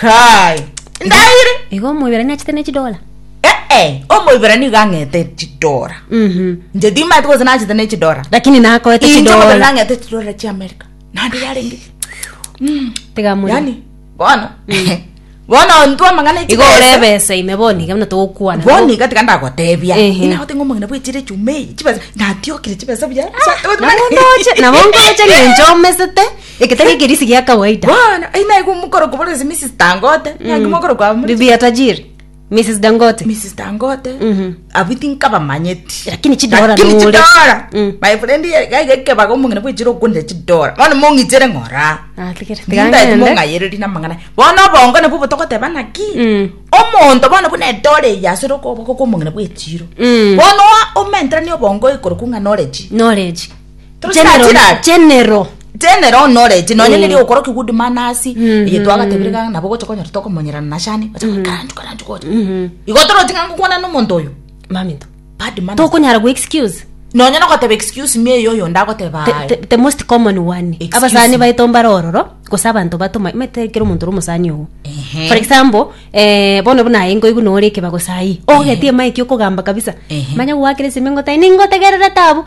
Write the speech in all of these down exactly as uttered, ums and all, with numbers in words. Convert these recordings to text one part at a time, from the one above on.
Kai ndaire. Igo omoiberania achete ne chidola. Eh eh, omoiberania iga ang'ete chidora. Mhm. Inche timanyeti gose nachete ne chidora. Lakini nakoete Inche chidora. omoiberania ang'ete chidora chia America. Naende yarenge. Tiga more. Yani bono. Bono intwe amang'ana Igo ore ebesa ime bono iga buna togokwana. Bono iga tiga ndagotebia. Ehe. Inagote ng'a omong'ina bwechire echuma eye chibesa natiokire chibesa buya. Nabo ndoche, nabo ndoche ng'encho omesete, eketari ekerisi gia kawaida. Bono inaigwa omokoro kobora ase Missus Dangote, naki mokoro kwa muri Bibi ya tajiri, Missus Dangote. Missus Dangote. Mhm. Abwo tinkabamanyeti. Lakini chidora Lakini nore. chidora. Mm. My friend iga ekebaga omong'ina bwechire okondera chidora. Bono mong'ichere ng'ora. Ah, tigere, tiga Ndati ng'ende. mong'ayereri na amang'ana. Bono obongo nabwo botogoteba naki. Mm. Omonto bono buna edora eye asore okoboko kwa omong'ina bwechiro. Mm. Bono oa- omenteranie obongo igoro kung'a knowledge. Knowledge. Toro General, chirachirari. general. General knowledge nonye Mm. neri okoroki good manners Mhm. eye twagatebire ng'a nabo gocha konyora tokomonyerana na shani gocha karanchu karanchu gocha Mhm. igo torochi ng'a ngokwana na omonto oyo Maminto. bad manners Tokonyara go excuse. nonye nogoteba excuse me eyo oyo ndagoteba The, aye the, the most common one. Excuse Abasani me. baito mbare ororo, gose abanto batoma, mete kero omonto ore omosani ogo. Ehe. For example, eh, bono buna aye nkoigwa nore ekeba gose aye. Ogetie emaiki okogamba kabisa. Ehe. Manya gwakera esime ngotai ningotegerera tabu.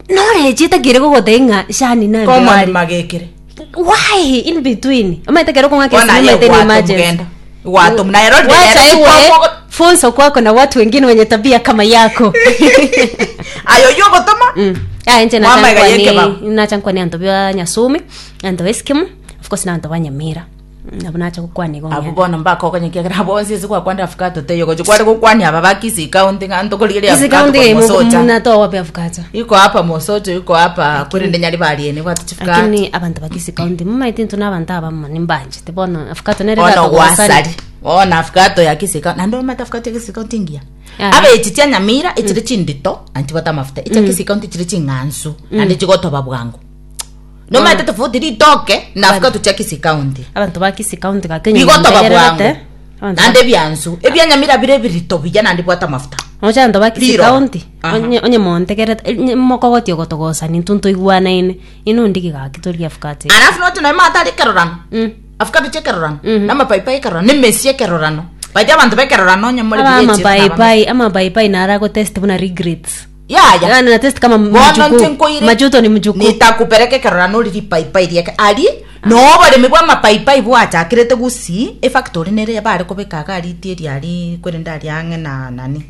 Knowledge etakire gogotebia ng'a shani naye common mbare. magekere Why in between? Omanyete kero okong'aka Bono esime aye omanyete ni gwato emergency. mugenda gwato muna ero Wacha rero iwe kwako- funzo kwako na watu wengine wenye tabia kama yako. ayo yo gotoma Mm. Ah, inche Mwama iga nachankwane yekeba. nachankwane anto bya Nyasumi, anto Eskimo, of course na anto ba Nyamira. Nabo nacha gokwana igo abo ng'ende. bono mbakokonyekia kera bonsi ase gwakwandera avocado teiyo gochi kware gokwania aba ba Kisii County ng'a ntokorigereria Kisii avocado County korwa Mosocha. munatoa wapi avocado? Iko hapa Mosocho iko hapa kwerende Nyaribari ene bwate chifukati Lakini abantu ba Kisii County mumaete intwe na abanto abamo nimbanchete bono avocado nere bono eratogosani. gwasari bono avocado ya Kisii County naende omanyete avocado ya Kisii County engiya Aha. abe echi chia Nyamira echire chindito naende chibwate amafuta echa Kisii County chire ching'ansu naende chigotoba bwango nomanyete tofauti ritoke na avocado chia Kisii County Abanto ba Kisii County gaki bigotoba bwango Abanto naende ebiansu ebia Nyamira bire ebirito buya naende bwate amafuta Oche abanto ba Kisii Riro. County Aha. onye onye montegerete eh, mokogotia ogotogosani intwe ntoigwanaine ino ndigi gaki torie avocado eye. alafu noche noe matari ekerorano Mm. avocado chia ekerorano Mhm. na amapaipai ekerorano na emesi ekerorano baiti abanto bekerorano onye more Aba buya echiro na abamesi. amapaipai amapaipai nara gotest buna regrets. Yaya Yaani na test kama bono nche mjukuu. nkoire Majuto ni mjukuu. nitakupeleka ekerorano ori ripaipai riake ari no oboremi bwa amapaipai bwachakirete gusii efactory nere bare kobeka iga ritie eriari kwerende aria ang'e na nani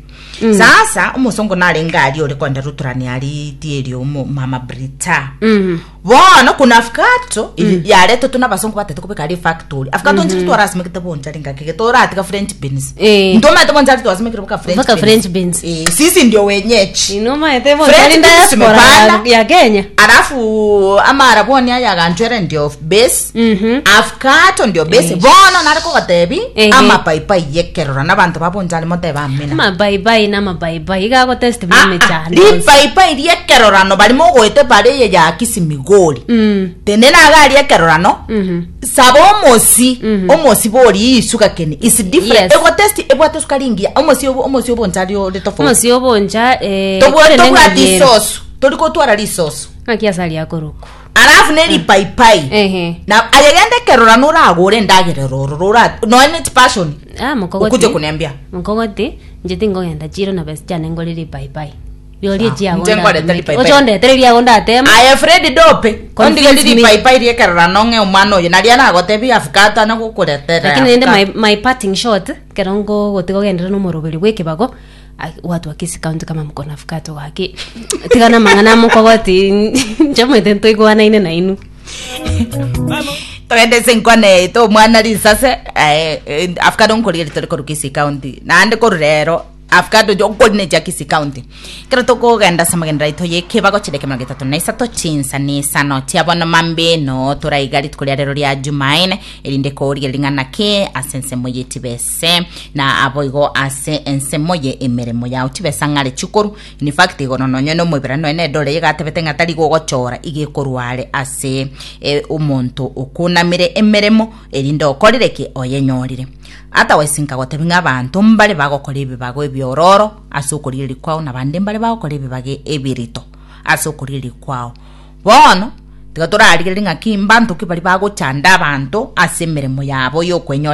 sasa omosongo narenge aria ore kogenda ruturani aritie erio omo- mama Brita Mhm. bono kuna avocado mm. yaretetwe na abasongo batete kobeka aria efactory avocado nchiri twarasimekete bonchari ngaki toratiga french beans Eh. ntomanyete bonchari twasimekire boka french Mpaka French beans. eh, sisi ndio wenyeji Inomaete French bonchari beans diaspora ya, tumepanda. ya Kenya. alafu amarabwoni aya aganchwere ndio base Mhm. avocado ndio base bono nare kogotebi Ehe. amapaipai yekerora nabanto babonchari motebe amina Amapaipai na amapaipai iga gotest buna Ah, ah, emechando. ripaipai riekerorano bari mogoete bare eye ya Kisimigori Mm. tenena iga aria ekerorano Mhm. saba omosi Mhm. omosi bori isuka keni is different Yes. egotest ebwate esukari engiya omosi obo omosi obonchari ore tofauti Omosi oboncha eh Tobwa- kore tobwati neng'ayiero. isosu tori kotwara risosu Ng'aki asari akoroku. alafu neripaipai Ehe. na ayegende kerora noragure endagera roro rora noe ne passion Ah mokogoti. ukuje kuniambia Mokogoti nche tingogenda chiro na besa chiane ngore ripaipai. Riorie Ah, chiago. nche ngorete ripaipai. Ochondetere riago ndatema. aye Fred Dope Confuse ondigeri me. ripaipai riekerora nong'e omwana oyo naria nagotebi avocado ana gokoretera Lakini nende my, my parting shot kero ngogotiga ogendere na omoroberi bwa ekebago ai, watu wa Kisii County kama mko na avocado gaki tigana mang'ana mokogoti nche omanyete ntoigwanaine na inwe. togende ase enkwana yaito omwana risase eh, eh, avocado nkorigeria tori korwa Kisii County naende korwa rero avocado jo okorine chia Kisii County kero tokogenda ase amagendero aito ya ekebago chideke mirongo etato na isato chinsa na isano chia bono mambeno toraiga rituko ria rero ria Jumaine erinde korigereria ng'a naki ase ensemo ye chibese na abo igo ase ensemo ye emeremo yao chibesa ng'are chikoru in fact igo nonye na omoibera noe na edore igatebete ng'a tari gogochora iga ekorwa are ase eh, omonto okunamire emeremo erinde okorire ki oyenyorire otherwise nkagotebi ng'a abanto mbare bagokora ebibago ebiororo ase okorigereria kwao na bande mbare bagokora ebibago ebirito ase okorigereria kwao bono Tiga torarigereria ng'aki mbanto ki bari bagochanda abanto ase emeremo yabo yokwenyorera.